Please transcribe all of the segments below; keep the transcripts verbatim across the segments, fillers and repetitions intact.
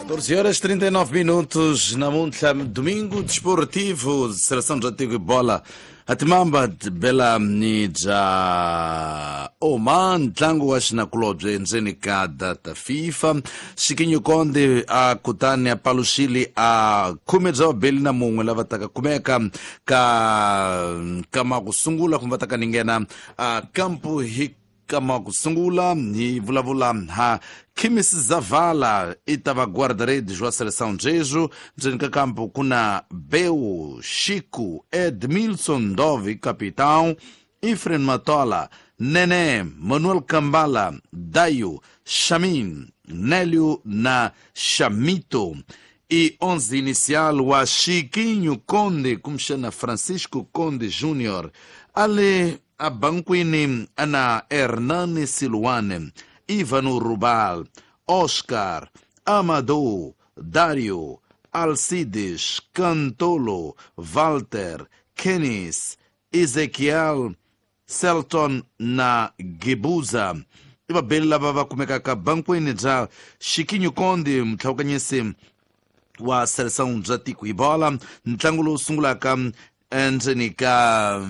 catorze horas trinta e nove minutos namuntlha domingo desportivo seleção bya tiko bola atimamba bela ni bya Oman ntlangu wa xinakulobye endzeni ka data FIFA Chiquinho Conde a kutani a paluxile a khume bya vabeli na mun'we lava taka kumeka ka kama ku sungula kumbe va taka ni nghena a kampu hi kama ku sungula hi vulavula ha Kimis Zavala i ta va guarda-redes wa seleção Jesu ndzeni ka kampo ku na Beu Chico Edmilson Dove capitão Ifren Matola Nene Manuel Kambala Dayo Chamin Nélio na Chamito e onze inicial wa Chiquinho Conde kumxana Francisco Conde Júnior ale a banquini ana Hernani Siluane, Ivano Rubal, Oscar, Amadou, Dario, Alcides, Cantolo, Walter, Kenis, Ezequiel, Selton na Gebuza. I vabeli lava va kumekaka banquini bya Chiquinho Conde mutlhawukanyisi wa seleção bya tiko hi bola ntlangu lowu sungulaka endzeni ka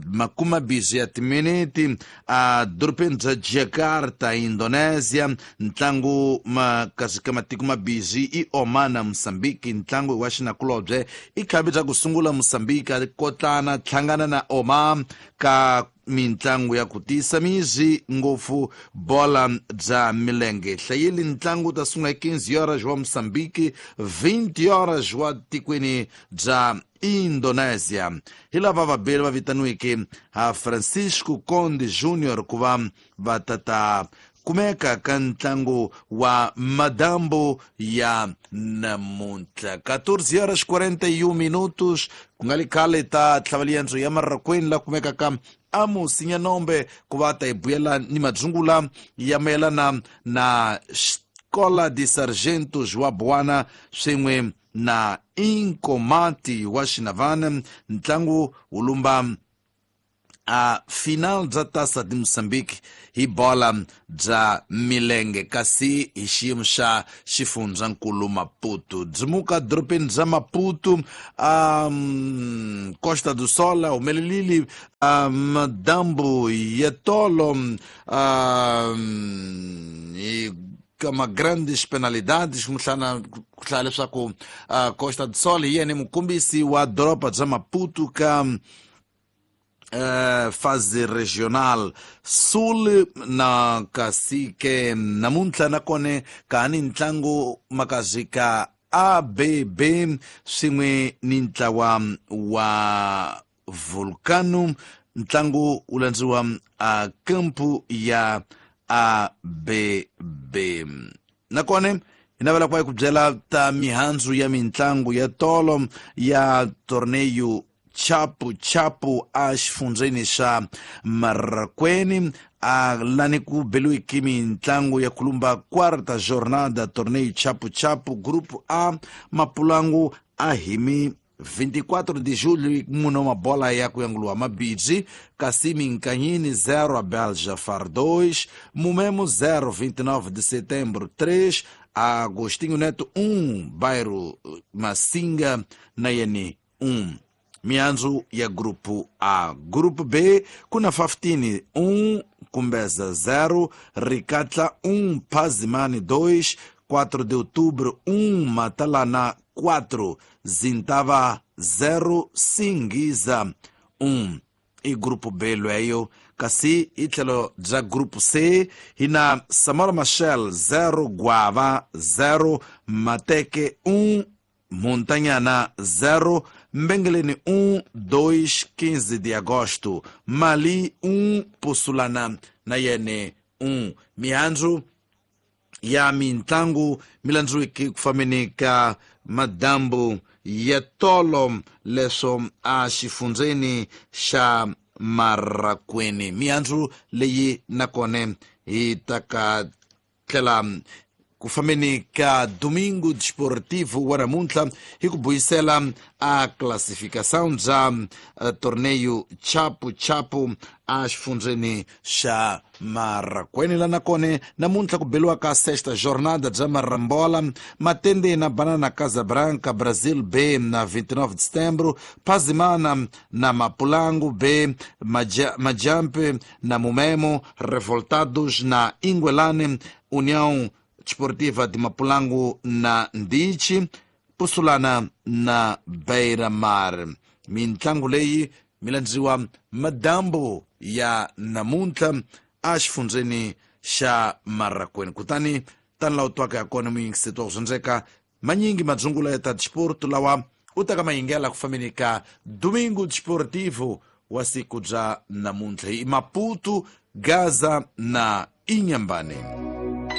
makuma bizi ya timiniti a dorobeni bya Jakarta Indonesia ntlangu makasi ka matiko mabizi i Oman na Mozambique ntlangu wa xinakulobye i khavi bya ku sungula Mozambique a kotlana hlangana na Oman ka mintlangu ya ku tisa mizi ngopfu bola bya milenge hlayeli ntlangu ta sungula hi quinze horas wa Mozambique vinte horas wa tikweni bya Indonesia hi lava vabeli va vitaniweke ha Francisco Conde Júnior ku va va tata kumeka ka ntlangu wa madambo ya namuntlha catorze horas quarenta e um minutos ku nga li khale ta tlhavaliendzo ya Marrakweni la kumekaka Amos Nyanombe ku va ta hi buyela ni madzungula ya mayelana na Escola de Sargentos wa Bwana swin'we na Inkomati wa Xinavana ntlangu wu lumba a final bya Taça de Moçambique hi bola bya milenge kasi hi xiyimo xa xifundzankulu Maputo byimuka dorobeni bya Maputo um, Costa do Sol humelelile um, dambu ya tolo um, hi kama grandes penalidades kumhlana ku hlaya leswaku uh, Costa do Sol hi yena mukombisi wa doroba bya Maputo ka Uh, fase regional sul na kasi ke namuntlha nakone ka ni ntlangu makazi ka A B B swin'we ni ntlawa wa Vulcano ntlangu wu landziwa a kampu ya A B B nakone hi navela ku va hi ku byela ta mihandzu ya mintlangu ya tolo ya torneio Chapu Chapu a xifundzeni xa Marrakweni a lani ku beliweke mintlangu ya kulumba quarta jornada torneio Chapu Chapu grupo A Mapulangu a himi vinte e quatro de julho mune wa mabola ya ku yanguliwa mabidzi kasi Minkanyini zero a Beljafar dois Mumemo zero vinte e nove de setembro três Agostinho Neto um Bairro Massinga na yene um. Mihandzu ya grupo A. Grupo B, kuna Faftini um, Kumbeza zero, Ricatla um, Pazimani dois, quatro de outubro um, Matalana quatro, Zintava zero, Singiza um. E grupo B lweyo kasi itlhelo bya grupo C hina Samora Machel zero, Guava zero, Mateke um, Montanhana zero, Mbengeleni um, dois, quinze de agosto, Mali um, Pussulana na yene um. Mihandzu ya mintlangu milandzuweke ku fambeni ka madambu ya tolo leswo a xifundzeni xa Marrakweni. Mihandzu leyi nakone hi ta ka tlhela Ku fambeni ka Domingo Desportivo wa namuntlha hi ku buyisela a classificação bya uh, torneio Chapu Chapu a xifundzeni xa Marracuene. La nakone namuntlha ku beliwa ka sexta jornada bya Marambola, Matende na Banana Casabranca, Brasil B na vinte e nove de setembro, Pazimana na Mapulango B, Maja, Majampe na Mumemo, Revoltados na Inguelane, União Desportiva de Mapulango na Ndichi, Pussulana na Beira Mar. Mintlangu leyi mi landziwa madambu ya namuntlha a xifundzeni xa Marracuene. Kutani tani laha u twaka ya kona muyingiseti wa ku dyondzeka manyingi madzungula ya ta disporto lawa u taka mayingela ku fambeni ka Domingo Desportivo wa siku bya namuntlha hi Maputo, Gaza na Inhambane.